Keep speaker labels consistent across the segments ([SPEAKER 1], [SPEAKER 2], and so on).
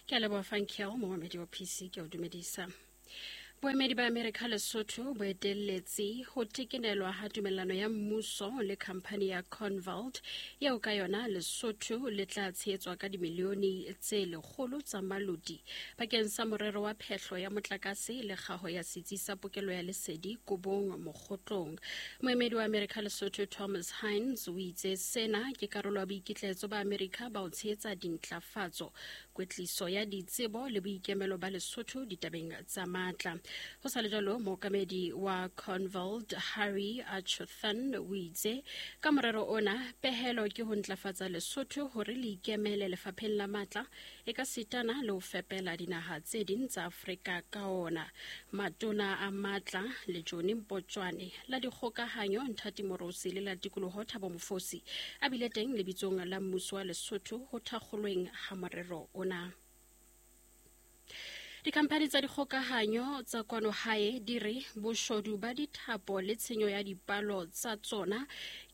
[SPEAKER 1] Ke a leboha Fankel, momamedi wa PC, ke a o dumedisa. Boemedi ba Amerika Lesotho bo etelletse ho tekenelwa ha tumellano ya mmuso le khamphani ya Convalt eo ka yona Lesotho le tla tshehetswa ka dimilione tse lekgolo tsa malodi bakeng sa morero wa phehlo ya motlakase le kgaho ya setsi sa pokelo ya lesedi Kobong Mokgotlong. Moemedi wa Amerika Lesotho Thomas Hines o itse sena ke karolo ya boikitlaetso ba Amerika ba ho tshehetsa dintlafatso, kwetliso ya ditsebo le boikemelo ba Lesotho ditabeng tsa matla. Ho sa le jwalo, mookamedi wa Convalt Harry Achuthan o itse ka morero ona pehelo ke ho ntlafatsa Lesotho hore le ikemele lefapheng la matla e ka sitana le ho fepela dinaha tse ding tsa Afrika ka ona. Matona a matla le Johnny Mpotjwane la dikgokahanyo Nthati Morosi le la tikoloho Thabo Mofosi a bile teng lebitsong la mmuso wa Lesotho ho thakgolweng ha morero ona. Dikhamphani tsa dikgokahanyo tsa kwano hae di re boshodu ba dithapo le tshenyo ya dipalo tsa tsona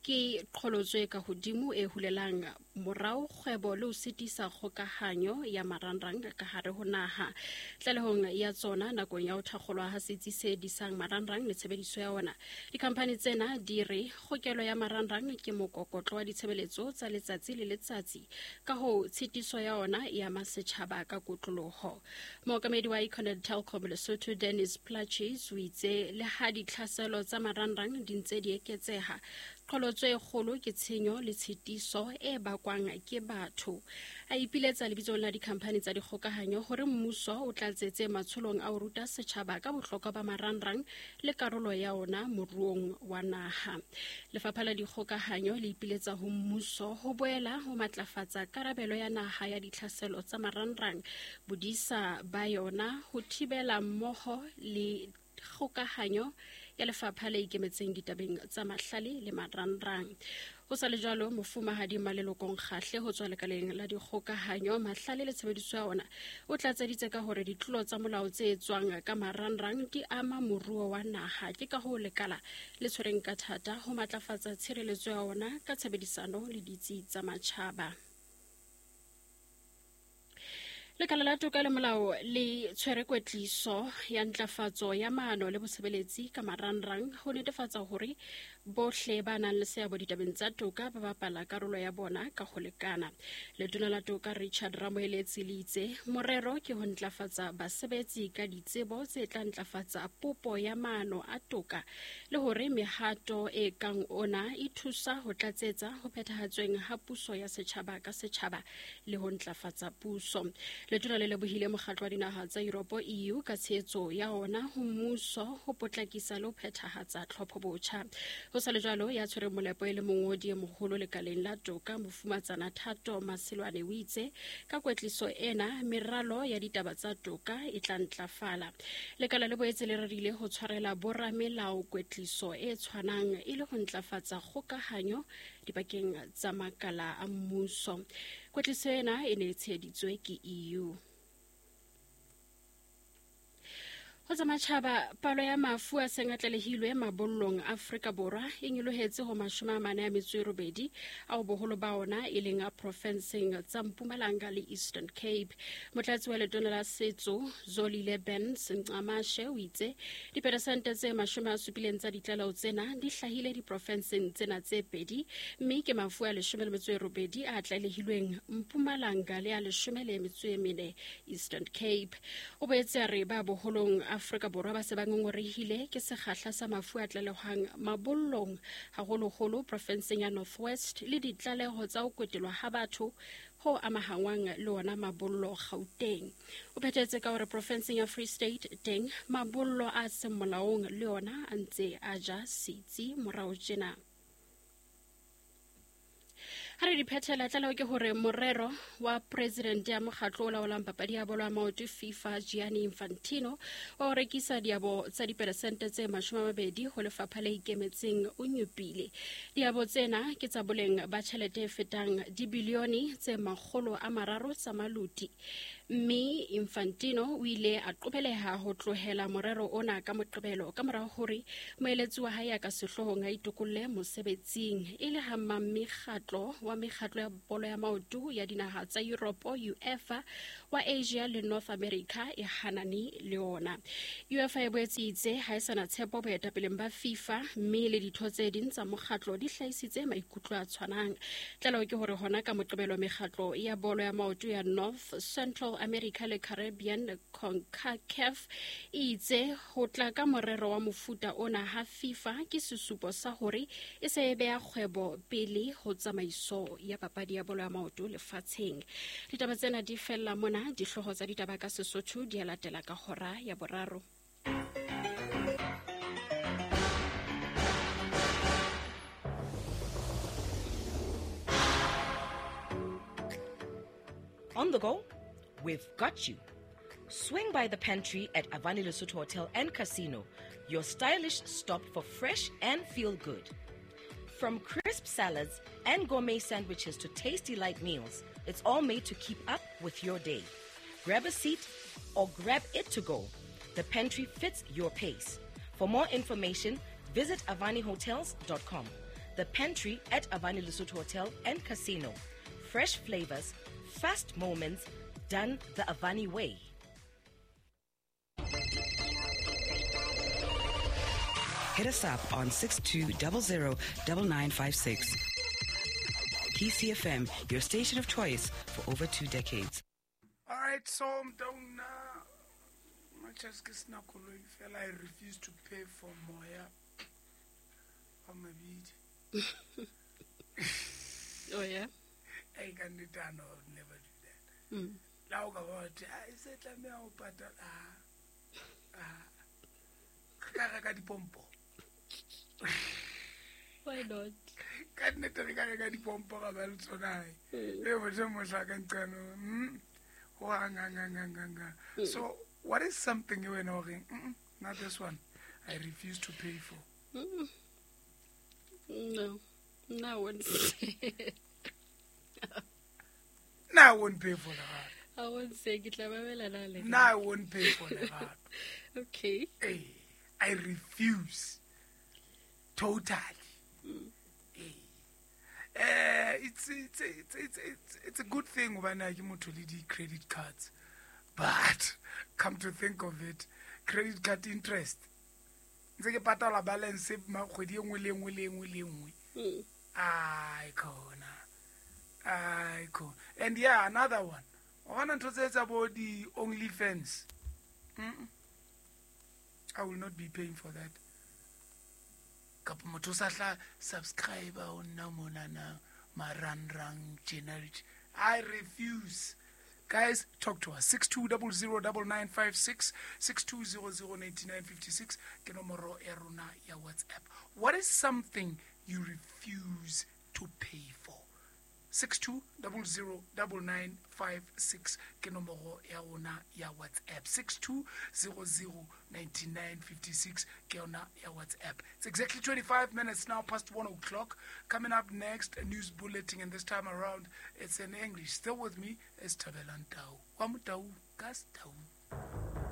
[SPEAKER 1] ke qholotso e ka hodimo e hulelang morao kgwebo le ho sitisa kgokahanyo ya marangrang ka hare ho naha. Tlalehong ya tsona nakong ya ho thakgolwa ha setsi se disang marangrang le tshebediso ya ona, dikhamphani tsena di re kgokelo ya marangrang ke mokokotlo wa ditshebeletso tsa letsatsi le letsatsi, ka hoo tshitiso ya ona e ama setjhaba ka kotloloho. Mookamedi wa Econet Telkom Lesotho Dennis Plaatjes o itse le ha ditlhaselo tsa marangrang di ntse di eketseha, qholotso e kgolo ke tshenyo le tshitiso e bakwang ke batho. A ipiletsa lebitsong la dikhamphani tsa dikgokahanyo hore mmuso o tlatsetse matsholong a ho ruta setjhaba ka bohlokwa ba marangrang le karolo ya ona moruong wa naha. Lefapha la dikgokahanyo le ipiletsa ho mmuso ho boela ho matlafatsa karabelo ya naha ya ditlhaselo tsa marangrang, bodisa ba yona ho thibela mmoho le kgokahanyo ya lefapha le ikemetseng ditabeng tsa mahlale le marangrang. Ho sa le jwalo, mofumahadi Malelokong Kgahle ho tswa lekaleng la dikgokahanyo, mahlale le tshebediso ya ona o tlatseditse ka hore ditlolo tsa molao tse etswang ka marangrang di ama moruo wa naha. Ke ka hoo lekala le tshwereng ka thata ho matlafatsa tshireletso ya ona ka tshebedisano le ditsi tsa matjhaba. Lekala la toka le molao le tshwere kwetliso ya ntlafatso ya maano le bosebeletsi ka marangrang ho netefatsa hore bohle ba nang le seabo ditabeng tsa toka ba bapala karolo ya bona ka ho lekana. Letona la toka Richard Ramoeletsi le itse morero ke ho ntlafatsa basebetsi ka ditsebo tse tla ntlafatsa popo ya maano a toka le hore mehato e kang ona e thusa ho tlatsetsa ho phethahatsweng ha puso ya setjhaba ka setjhaba le ho ntlafatsa puso. Letona le lebohile mokgatlo wa dinaha tsa Yuropo EU ka tshehetso ya ona ho mmuso ho potlakisa le ho phethahatsa tlhopho botjha. Ho sa le jwalo, ya tshwereng molepo e le mongodi e moholo lekaleng la toka Mofumatsana Thato Maselwane o itse ka kwetliso ena meralo ya ditaba tsa toka e tla ntlafala. Lekala le boetse le rerile ho tshwarela boramelao kwetliso e tshwanang e le ho ntlafatsa kgokahanyo dibakeng tsa makala a mmuso. Kwetliso ena e ne e tsheheditswe ke EU. Ho tsa matjhaba, palo ya mafu a seng a tlalehilwe mabollong Afrika Borwa e nyolohetse ho 48 ao boholo ba ona e leng a profenseng tsa Mpumalanga le Eastern Cape. Motlatsi wa letona la setso Zolile Benz Ncamashe o itse diperesente tse 70 tsa ditlaleho tsena di hlahile diprofenseng tsena tse pedi, mme ke mafu a 18 a tlalehilweng Mpumalanga le a 14 Eastern Cape. O boetse a re ba boholong Afrika Borwa ba se ba ngongorehile ke sekgahla sa mafu a tlalehwang mabollong, haholoholo profenseng ya North West, le ditlaleho tsa ho kwetelwa ha batho ho amahangwang le ona mabollo Gauteng. O phethetse ka hore profenseng ya Free State teng mabollo a seng molaong le ona a ntse a ja setsi morao tjena. Ha re di phethela, tlaleho ke hore morero wa presidente ya mokgatlo o laolang papadi ya bolo ya maoto FIFA Gianni Infantino wa ho rekisa diabo tsa diperesente tse 20 ho lefapha le ikemetseng o nyopile. Diabo tsena ke tsa boleng ba tjhelete e fetang dibilione tse 300 tsa maluti, mme Infantino o ile a qobeleha ho tlohela morero ona ka Moqebelo ka mora hore moeletsi wa hae ya ka sehloohong a itokolle mosebetsing e le ha mmamekgatlo wa wa mekgatlo ya bolo ya maoto ya dinaha tsa Europe UEFA wa Asia le North America e hanane le ona. UEFA e boetse itse ha e sana tshepo boetapeleng ba FIFA mme le ditho tse ding tsa mokgatlo di hlahisitse maikutlo a tshwanang. Tlaleho ke hore hona ka Moqebelo mekgatlo ya bolo ya maoto ya North, Central America le Caribbean CONCACAF e itse ho tla ka morero wa mofuta ona ha FIFA ke sesupo sa hore e se e beha kgwebo pele ho tsamaiso ya papadi ya bolo ya maoto lefatsheng. Ditaba tsena di fella mona, dihlooho tsa ditaba ka Sesotho di a latela ka hora ya boraro.
[SPEAKER 2] On the go? We've got you. Swing by the pantry at Avani Lesotho Hotel and Casino, your stylish stop for fresh and feel good. From crisp salads and gourmet sandwiches to tasty light meals, it's all made to keep up with your day. Grab a seat or grab it to go. The pantry fits your pace. For more information, visit avanihotels.com. The pantry at Avani Lesotho Hotel and Casino. Fresh flavors, fast moments, done the Avani way.
[SPEAKER 3] Hit us up on 6200 9956. PCFM, your station of choice for over 2 decades.
[SPEAKER 4] All right, so I'm down now. Much as I refuse to pay for moya on my beat.
[SPEAKER 1] Oh, yeah?
[SPEAKER 4] I can do that. No, I'll never do that. Now, I said, let me out.
[SPEAKER 1] Why not?
[SPEAKER 4] So, what is something you were knowing? Not this one. I refuse to pay for.
[SPEAKER 1] No. No, I won't say.
[SPEAKER 4] No, I won't pay for that.
[SPEAKER 1] I won't say.
[SPEAKER 4] No, I won't pay for that.
[SPEAKER 1] Okay.
[SPEAKER 4] Hey, I refuse. Totally. Hey. It's a good thing when I give to the credit cards, but come to think of it, credit card interest. Ntseke patala balance ma kgwedi engwe le engwe le engwe le engwe. Ai khona. Ai khona. And yeah, another one. O bona ntho tse tsa bo di OnlyFans. I will not be paying for that. Kapa motho o sa tla subscribe o nna monana marangrang generic. I refuse. Guys, talk to us. 62009956, 62009956. Ke nomoro ya rona ya WhatsApp. What is something you refuse to pay for? 62009956. Ke nomoro ya rona ya WhatsApp. 62009956. Ke yona ya WhatsApp. It's exactly 25 minutes now past 1 o'clock. Coming up next, a news bulletin, and this time around it's in English. Still with me is Thabelang Tau. Wa Motau, Gas Tau.